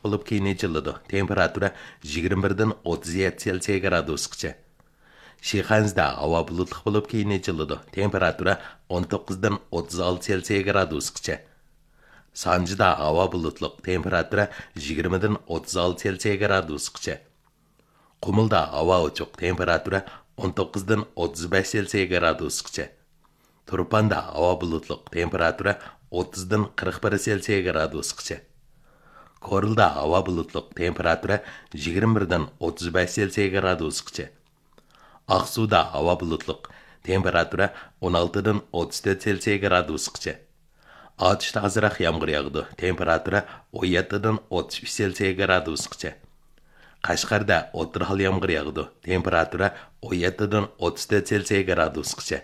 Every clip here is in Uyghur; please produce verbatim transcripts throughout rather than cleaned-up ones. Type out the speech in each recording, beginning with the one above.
بولۇپ، كېيىن ئېچىلىدۇ. تېمپېراتۇرا يىگىرمە بىردىن ئوتتۇز يەتتە سېلسىيە گرادۇسقىچە. شىخەنزىدە ھاۋا بۇلۇتلۇق بولۇپ، كېيىن ئېچىلىدۇ. تېمپېراتۇرا ئون توققۇزدىن ئوتتۇز ئالتە سېلسىيە گرادۇسقىچە. سانجىدا ھاۋا بۇلۇتلۇق، تېمپېراتۇرا يىگىرمىدىن ئوتتۇز ئالتە سېلسىيە گرادۇسقىچە. قۇمۇلدا ھاۋا ئوچۇق، تېمپېراتۇرا ئون توققۇزدىن ئوتتۇز بەش سېلسىيە گرادۇسقىچە. تۇرپاندا ھاۋا بۇلۇتلۇق، تېمپېراتۇرا ئوتتۇزدىن قىرىق بىر سېلسىيە گرادۇسقىچە. كورلىدا ھاۋا بۇلۇتلۇق، تېمپېراتۇرا يىگىرمە بىردىن ئوتتۇز بەش سېلسىيە گرادۇسقىچە. ئاقسۇدا ھاۋا بۇلۇتلۇق، تېمپېراتۇرا ئون ئالتىدىن ئوتتۇز تۆت سېلسىيە گرادۇسقىچە. ئاتۇشتا ئازراق يامغۇر ياغىدۇ، تېمپېراتۇرا ئون يەتتىدىن ئوتتۇز ئۈچ سېلسىيە گرادۇسقىچە. قەشقەردە ئوتتۇرا ھال يامغۇر ياغىدۇ، تېمپېراتۇرا ئون يەتتىدىن ئوتتۇز تۆت سېلسىيە گرادۇسقىچە.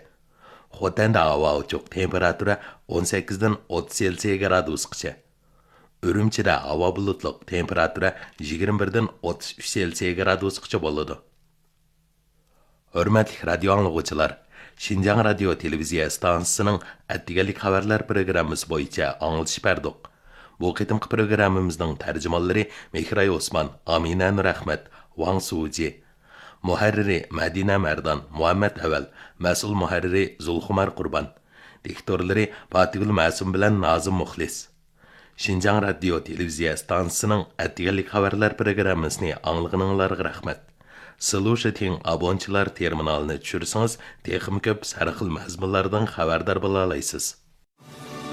خوتەندە ھاۋا ئوچۇق، تېمپېراتۇرا ئون سەككىزدىن ئوتتۇز سېلسىيە گرادۇسقىچە. ئۈرۈمچىدە ھاۋا بۇلۇتلۇق، تېمپېراتۇرا يىگىرمە بىردىن ئوتتۇز ئۈچ سېلسىيە گرادۇسقىچە بولىدۇ. ھۆرمەتلىك رادىيو ئاڭلىغۇچىلار، شىنجاڭ رادىيو تېلېۋىزىيە ئىستانسىسىنىڭ ئەتىگەنلىك خەۋەرلەر پروگراممىسى بويىچە ئاڭلىتىش بەردۇق. بۇ قېتىمقى پروگراممىمىزنىڭ تەرجىمانلىرى مېھراي ئوسمان، ئامىنە نۇرئەخمەت، ۋاڭ سۇجى. مۇھەررىرى مەدىنە مەردان، مۇھەممەت ئەۋەل، مەسئۇل مۇھەررىرى زۇلخۇمار قۇربان. دىكتورلىرى پاتىگۈل مەسۇم بىلەن نازىم مۇخلىس. شىنجاڭ رادىيو تېلېۋىزىيە ئىستانسىسىنىڭ ئەتىگەنلىك خەۋەرلەر پروگراممىسىنى ئاڭلىغىنىڭلارغا رەھمەت. سىلۇشىتىڭ ئابونچىلار تېرمىنالىنى چۈشۈرسىڭىز، تېخىمۇ كۆپ ھەر خىل مەزمۇنلاردىن خەۋەردار بولالايسىز.